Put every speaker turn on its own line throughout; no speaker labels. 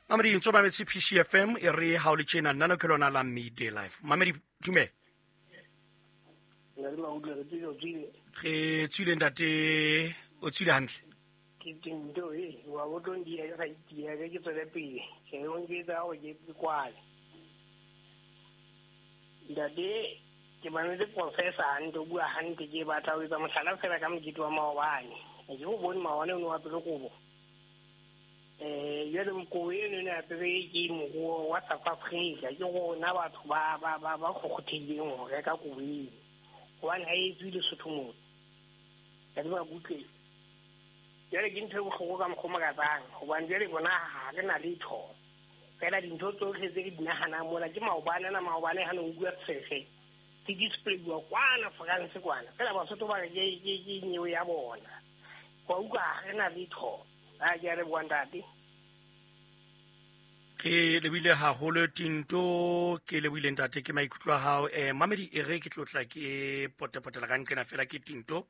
Mamedi ntso mametse PCFM e re ha o le tjena nna ke lona la Midday Life. Mamedi dumela. Re tswile ntate, o tswile hantle.
Ke tinto e wa bo tlo ndia ga itia ke ke tswele pele ke o nketsa gore ke kwale. Ntate, ke mametse professor hantle, o bua hantle. Ke batla ho etsa mohlala fela ka mokete wa maobane. Ke o bone maobane o ne wa apere kobo. Jwale kobo eno ne apere ke moruo wa South Africa. Ke rona batho ba kgokgothehileng ho reka kobo eno, hobane ha e etswe Lesotho mona. Ka tseba butle. Jwale ke ntho e bohloko ka mokgwa o makatsang, hobane jwale bona ha re na letho. Fela dintho tsohle tse re di nahanang mona ke maobane ana, maobane ha ne o bua tshege se displayiwa kwana France kwana. Fela Basotho ba re ke nyewe ya bona. Wa utlwa, ha re na letho. A ke a leboha ntate.
Ke lebile haholo Tinto, ke lebohile ntate, ke maikutlo a hao. Mamedi e re ke tlotla ke potepotela ka nqena fela ke Tinto.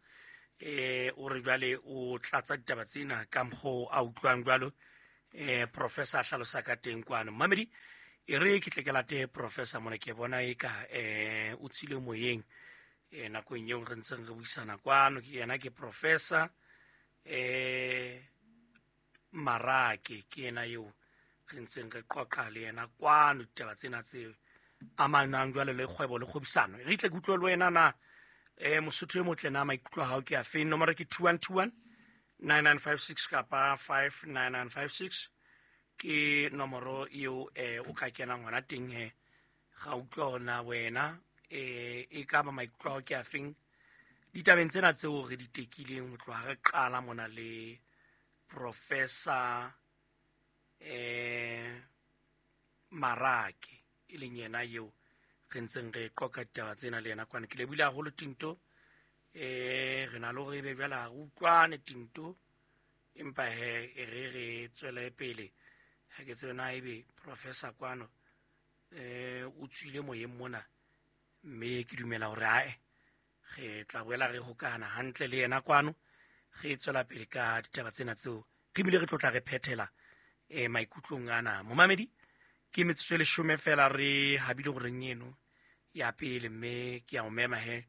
O re jwale o tlatsa ditaba tsena ka mokgwa a utlwang jwalo. Professor a hlalosa ka teng kwano. Mamedi e re ke tle ke late professor mona, ke bona e ka o tswile moyeng nakong eo re ntseng re buisana kwano. Ke yena ke professor Marake, ke yena eo re ntseng re qoqa le yena kwano ditaba tsena tse amanang jwale le kgwebo le kgwebisano. Re tle ke utlwe le wena na Mosotho e motle na maikutlo a hao ke a feng. Nomoro ke 2121 9956 kapa 59956 ke nomoro eo o ka kenang hona teng he. Ga utlwa hona wena e ka ba maikutlo a hao ke a feng ditabeng tsena tseo re di tekileng ho tloha re qala mona le Professor Marake, e leng yena eo re ntseng re qoqa ditaba tsena le yena kwana. Ke lebohile haholo Tinto. Re na le hore ebe jwale ha re utlwane Tinto, empa he e re re tswele pele. Ha ke tsebe na ebe professor kwano o tswile moyeng mona, mme ke dumela hore ae re tla boela re hokahana hantle le yena kwano, re tswela pele ka ditaba tsena tseo re bile re tlotla re phethela maikutlong ana. Momamedi, ke metsotso e leshome fela re habile horeng eno ya pele, mme ke a o mema he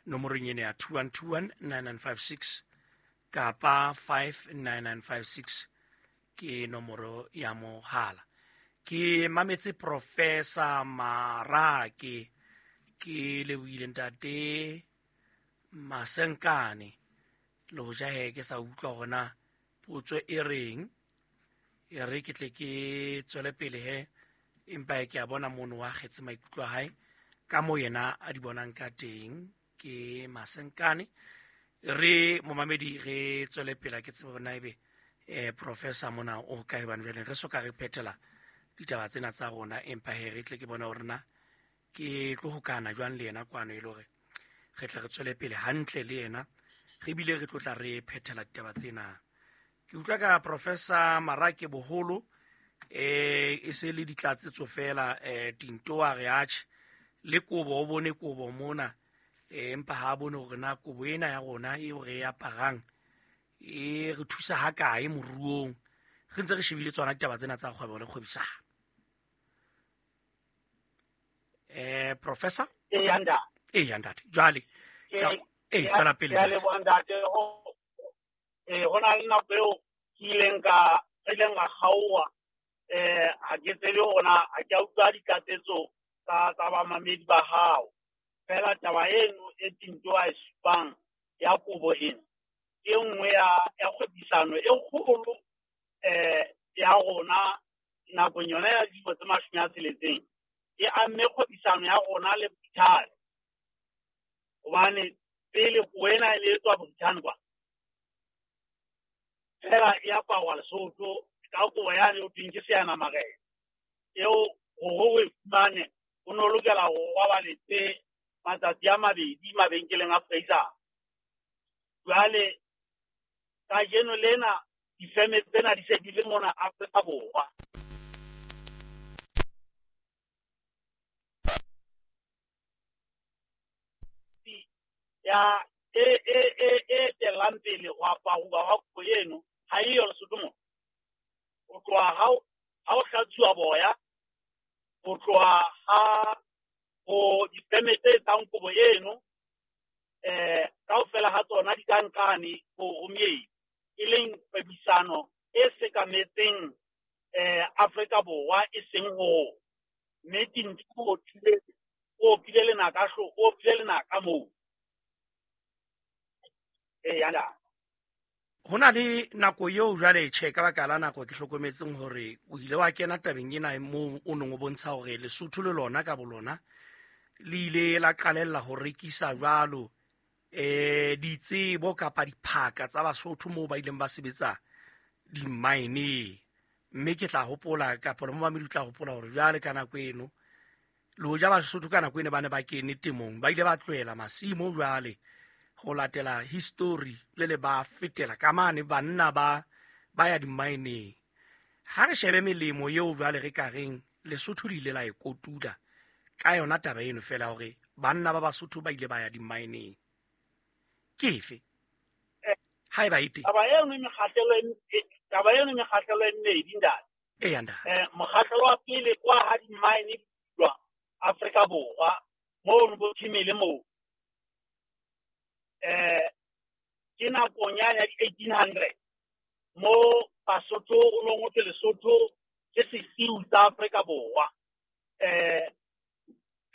nomorong eno ya 2121 9956 kapa 59956 ke nomoro ya mohala. Ke mametse Professor Marake, ke lebohile ntate Masenkane. Le hoja he ke sa utlwa hore na potso e reng, e re ke tle ke tswele pele he, empa ke a bona mono wa kgetse maikutlo a hae ka moo yena a di bonang ka teng. Ke Masenkane. Re momamedi re tswele pele, ke tsebe hore na ebe professor mona o kae, hobane jwale re soka re phethela ditaba tsena tsa rona, empa he re tle ke bone hore na ke tlo hokana jwang le yena kwano, e le hore re tle re tswele pele hantle le yena, re bile re tlotla re phethela ditaba tsena. Ke utlwa ka Professor Marake boholo e se le ditlatsetso fela. Tinto a re atjhe le kobo, o bone kobo mona, empa ha a bone hore na kobo ena ya rona eo re e aparang e re thusa ha kae moruong, re ntse re shebile tsona ditaba tsena tsa kgwebo le kgwebisano. Professor?
Ee, ntate.
Ee, ntate. Jwale tswela pele.
Ke a leboha ntate. Ho na le nako eo ke ileng ka re ileng ra kgaoha. Ha ke tsebe hore na ha ke a utlwa ditlatsetso tsa bamamedi ba hao. Fela taba eno e Tinto a e supang ya kobo ena ke e nngwe ya kgwebisano e kgolo ya rona nakong yona ya dilemo tse 60 e amme kgwebisano ya rona le Britain. Hobane pele kobo ena e ne e tswa Britain kwa, fela e aparwa Lesotho ka kobo yane ho thweng ke seanamarena, eo hore o e fumane o no lokela hore o robaletse matsatsi a mabedi mabenkeleng a Fraser. Jwale kajeno lena difeme tsena di se di le mona Afrika Borwa. Ya e etellang pele ho aparuwa hwa kobo eno ha eyo Lesotho mona. Ho tloha ha o hlatsuwa boya, ho tloha ha ho difeme tse etsang kobo eno, kaofela ha tsona di ka nkane ho moedi, e leng kgwebisano e sekametseng Afrika Borwa e seng ho mme Tintsi o opile lenaka o opile lenaka moo.
Ho na le nako eo jwale tjhe ka baka la nako ke hlokometseng hore o ile wa kena tabeng ena moo o neng o bontsha hore Lesotho le lona ka bolona le ile la qalella ho rekisa jwalo ditsebo kapa diphaka tsa Basotho moo ba ileng ba sebetsa di-mine. Mme ke tla hopola kapa le momamedi o tla hopola hore jwale ka nako eno le hoja Basotho ka nako eno ba ne ba kene temong, ba ile ba tlohela masimo jwale ho latela history le le ba fetela ka mane banna ba ya di-mineng. Ha re shebe melemo eo jwale re ka reng Lesotho le ile la e kotula ka yona taba eno fela hore banna ba Basotho ba ile ba ya di-mineng. Ke efe? Haeba e teng.
Taba eno mekgahlelo e mmedi ntate.
Eya ntate.
Mokgahlelo wa pele kwa ha di-mine di Afrika Borwa moo bo Thimele moo. Ke nakong ya di-1800 mo Basotho o nong o thwe Lesotho ke sesiu sa Afrika Borwa.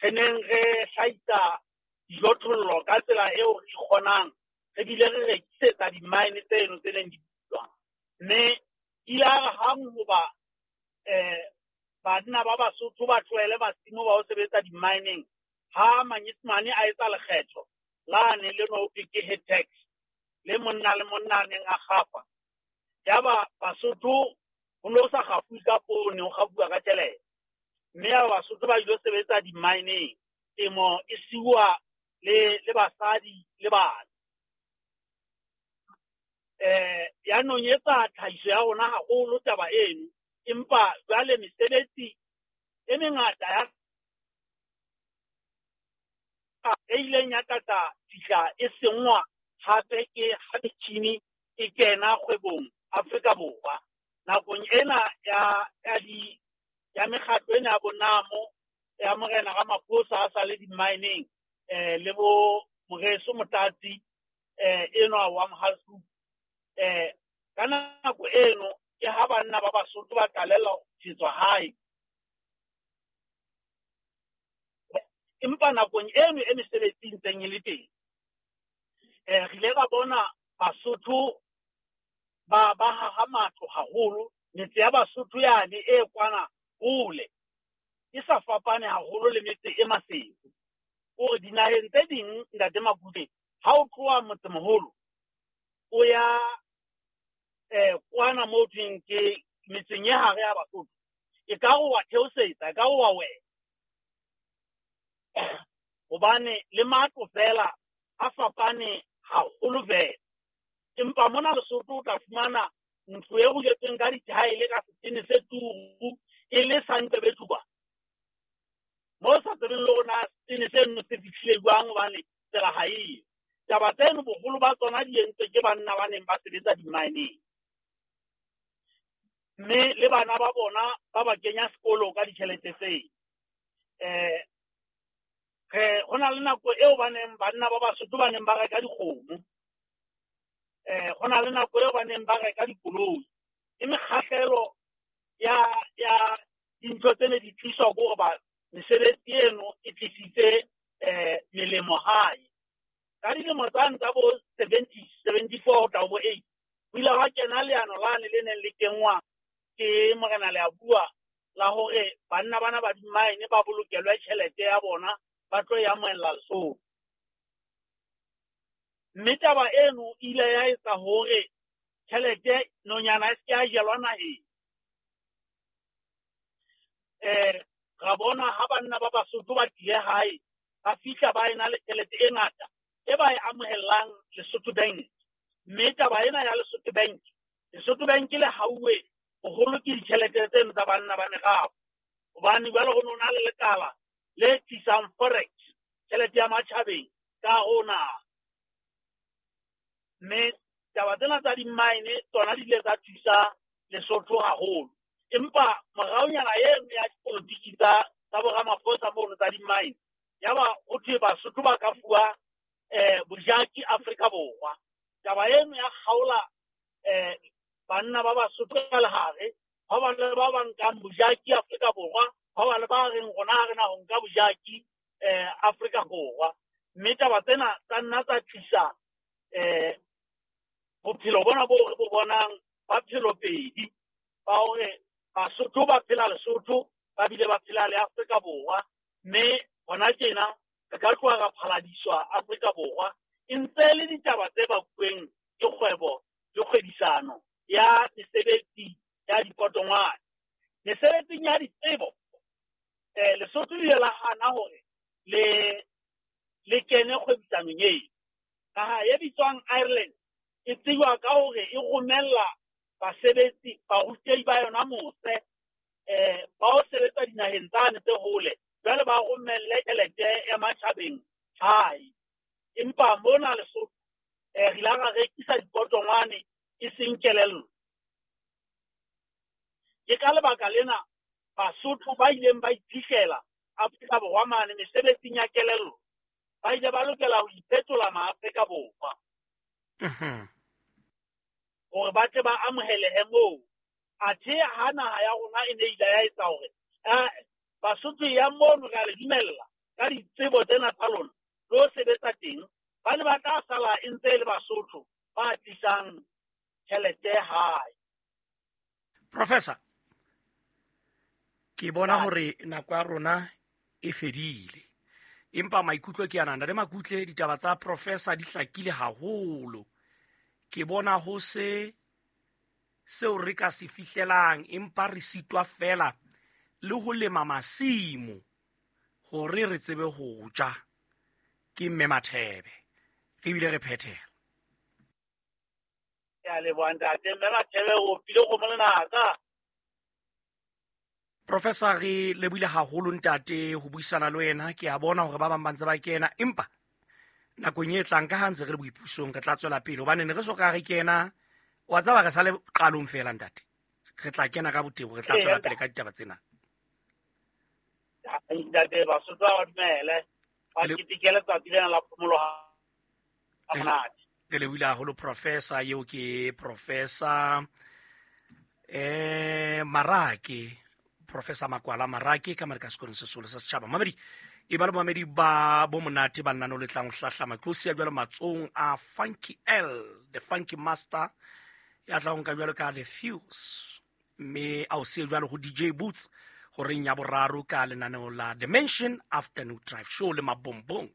Re neng re hlahisa dijothollo ka tsela eo re kgonang, re bile re rekisetsa di-mine tseno tse neng di bulwa. Mme ile ya re hang hoba banna ba Basotho ba tlohele masimo ba ho sebetsa di-mineng, ha Manyesemane a etsa lekgetho lane le no thwe ke head tax, le monna le monna a neng a kgafa. Yaba Basotho ho no sa kgafuwe ka poone, ho kgafuwa ka tjhelete. Mme ya Basotho ba ilo sebetsa di-mineng, temo e siuwa le basadi le bana. Ya nonyetsa tlhahiso ya rona haholo taba eno, empa jwale mesebetsi e mengata ya e ileng ya tlatla fihla e senngwa hape ke ha metjhini e kena kgwebong Afrika Borwa. Nakong ena ya mekgatlo ena ya bonamo ya Morena Ramaphosa a sa le di-mineng, le bo Moreso Motlatsi enwa wa Mohalshoek, ka nako eno ke ha banna ba Basotho ba qalella ho tshetswa hae. Empa nakong eno e mesebetsi e ntseng e le teng, re ile ra bona Basotho ba haha matlo haholo. Metse ya Basotho yane e kwana hole e sa fapane haholo le metse e Maseru. Hore dinaheng tse ding ntate Makude, ha o tloha motsemoholo o ya kwana moo thweng ke metseng e hare ya Basotho, e ka re wa theosetsa, e ka re wa wela, hobane le matlo fela a fapane haholo fela. Empa mona Lesotho o tla fumana ntlo e ruletsweng ka dithaele ka setene se turu e le sa Nqebethuba, moo sa tsebeng le hore na setene seno se fihlile jwang hobane tsela ha eyo. Taba tseno boholo ba tsona di entswe ke banna ba neng ba sebetsa di-mineng, mme le bana ba bona ba ba kenya sekolo ka ditjhelete tseo. Re ho na le nako eo ba neng banna ba Basotho ba neng ba reka dikgomo, ho na le nako eo ba neng ba reka dikoloi. E mekgahlelo ya dintho tse ne di tliswa ke hore ba mesebetsi eno e tlisitse melemo hae. Ka dilemo tsane tsa bo 70, 74 ho tla ho bo 8, ho ile hwa kena leano lane le neng le kenngwa ke Morena Leabua la hore banna bana ba di-mine ba bolokelwe tjhelete ya bona ba tlo e amohella Lesotho. Mme taba eno e ile ya etsa hore tjhelete nonyana e se ke ya jelwa naheng. Ra bona ha banna ba Basotho ba tlile hae, ba fihla ba ena le tjhelete e ngata e ba e amohellang Lesotho Bank. Mme taba ena ya Lesotho Bank, Lesotho Bank le hauwe boholo ke ditjhelete tseno tsa banna ba merafo, hobane jwale ho no na le lekala le tlisang forex, tjhelete ya matjhabeng ka ho naha. Mme taba tsena tsa di-mine tsona di ile tsa thusa Lesotho haholo. Empa moraonyana eno ya dipolotiki tsa boRamaphosa mono tsa di-mine, yaba ho thwe Basotho ba ka fuwa bojaki Afrika Borwa. Taba eno ya kgaola banna ba Basotho ka lehare, ba ba le ba ba nkang bojaki Afrika Borwa, ba ba le ba reng rona ha re na ho nka bojaki Afrika Borwa. Mme taba tsena tsa nna tsa tlisa bophelo bona bo re bo bonang ba phelo pedi, ba hore Basotho ba phela Lesotho, ba bile ba phela le Afrika Borwa. Mme hona tjena re ka tloha ra phaladiswa Afrika Borwa e ntse le ditaba tse bakuweng ke kgwebo le kgwebisano ya mesebetsi ya dipotongwane. Mesebetsing ya ditsebo, Lesotho le ile la hana hore le kene kgwebisanong eo. Naha e bitswang Ireland e tsejwa ka hore e romella basebetsi, barutehi ba yona mose, ba o sebetsa dinaheng tsane tse hole, jwale ba romelle tjhelete ya matjhabeng hae. Empa mona Lesotho re ile ra rekisa dipotongwane e seng kelello. Ke ka lebaka lena Basotho ba ileng ba iphihlela Afrika Borwa mane mesebetsing ya kelello, ba ile ba lokela ho iphetola maAfrika Borwa hore ba tle ba amohelehe moo. Athe ha naha ya rona e ne ile ya etsa hore Basotho ya mono re a le dumella ka ditsebo tsena tsa lona le ho sebetsa teng, ba ne ba tla sala e ntse e le Basotho ba tlisang tjhelete hae.
Professor, ke bona hore nako ya rona e fedile, empa maikutlo ke ana. Ntate Makutle, ditaba tsa professor di hlakile haholo. Ke bona ho se seo re ka se fihlelang, empa re sitwa fela le ho lema masimo hore re tsebe ho ja. Ke Mme Mathebe, re bile re phethela.
Ke a leboha ntate. Mme Mathebe o pile kgomo lenaka.
Professor, re lebohile haholo ntate ho buisana le wena. Ke a bona hore ba bang ba ntse ba kena, empa nakong e tlang ka ha ntse re le boipusong re tla tswela pele, hobane ne re soka re kena, wa tseba re sa le qalong fela ntate. Re tla kena ka botebo, re tla tswela pele ka ditaba tsena.
Ntate, Basotho ba dumele, ba ketekele letsatsi lena la phomolo ha monate.
Re lebohile haholo Professor. Eo ke Professor Marake, Professor Makwala Marake ka mare ka sekolong se seholo sa setjhaba. Mamedi e ba le mamedi ba bo monate ba lenaneo le tlang ho hlahlama. Ke o siya jwalo matsohong a Funky L, the Funky Master, ya tla ho nka jwalo ka The Fuse, mme a o siye jwalo ho DJ Boots horeng ya boraro ka lenaneo la Dimension Afternoon Drive Show le Mabombong.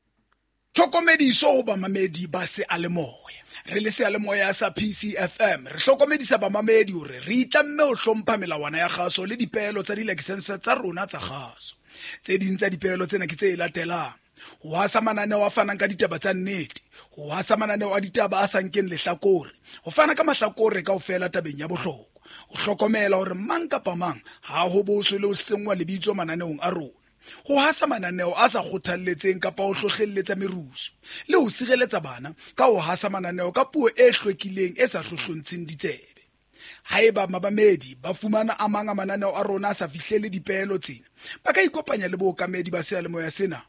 Tlhokomediso ho bamamedi ba seyalemoya. Re le seyalemoya sa PCFM re hlokomedisa bamamedi hore re itlamme ho hlompha melawana ya kgaso le dipeelo tsa dilakesense tsa rona tsa kgaso. Tse ding tsa dipeelo tsena ke tse latelang: ho hasa mananeo a fanang ka ditaba tsa nnete, ho hasa mananeo a ditaba a sa nkeng lehlakore, ho fana ka mahlakore kaofela tabeng ya bohlokwa, ho hlokomela hore mang kapa mang ha ho boswe le ho senngwa lebitso mananeong a rona, ho hasa mananeo a sa kgothalletseng kapa ho hlohlelletsa merusu, le ho sireletsa bana ka ho hasa mananeo ka puo e hlwekileng e sa hlohlontsheng ditsebe. Haeba mabamedi ba fumana a mang a mananeo a rona a sa fihlele dipeelo tsena, ba ka ikopanya le bookamedi ba seyalemoya sena.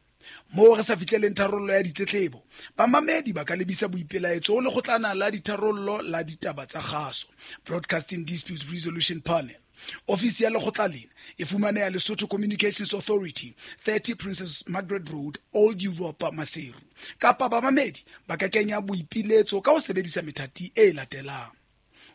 Moo re sa fihleleng tharollo ya ditletlebo, bamamedi ba ka lebisa boipelaetso ho lekgotlana la ditharollo la ditaba tsa kgaso, Broadcasting Disputes Resolution Panel. Ofisi ya lekgotla lena e fumaneha Lesotho Communications Authority, 30 Princess Margaret Road, Old Europa, Maseru. Kapa bamamedi ba ka kenya boipiletso ka ho sebedisa methati e latelang: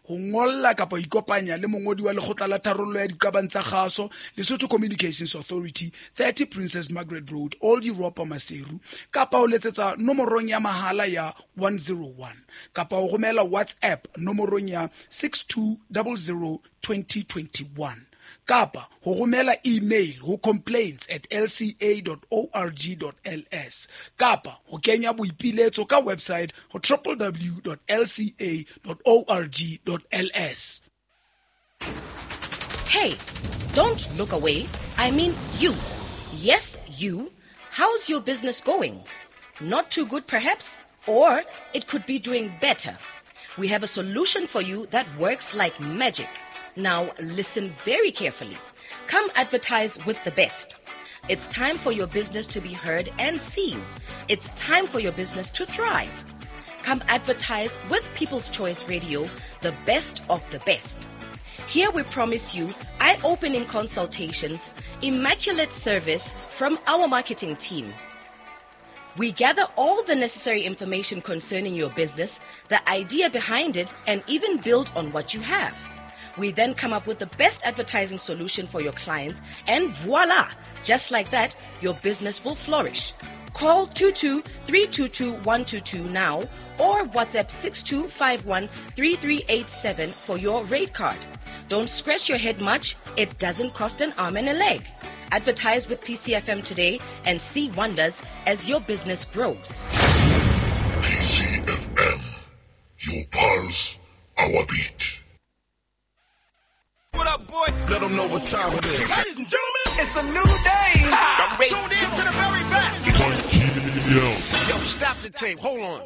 ho ngolla kapa ho ikopanya le mongodi wa lekgotla la tharollo ya diqabang tsa kgaso, Lesotho Communications Authority, 30 Princess Margaret Road, Old Europa, Maseru, kapa ho letsetsa nomorong ya mahala ya 101, kapa ho romela WhatsApp nomorong ya 6200 2021, kapa ho romela email ho complaints@lca.org.ls, kapa ho kenya boipiletso ka website ho www.lca.org.ls.
Hey, don't look away. I mean you. Yes, you. How's your business going? Not too good, perhaps? Or it could be doing better. We have a solution for you that works like magic. Now listen very carefully. Come advertise with the best. It's time for your business to be heard and seen. It's time for your business to thrive. Come advertise with People's Choice Radio, the best of the best. Here we promise you eye opening consultations, immaculate service from our marketing team. We gather all the necessary information concerning your business, the idea behind it, and even build on what you have. We then come up with the best advertising solution for your clients, and voila! Just like that, your business will flourish. Call 22 322 122 now or WhatsApp 6251 3387 for your rate card. Don't scratch your head much, it doesn't cost an arm and a leg. Advertise with PCFM today and see wonders as your business grows.
PCFM, your pulse, our beat.
What up, boy?
Let them know what time it is.
Ladies and gentlemen, it's a new day. I'm tuned in to the very best.
It's on.
Yo, stop the tape. Hold on.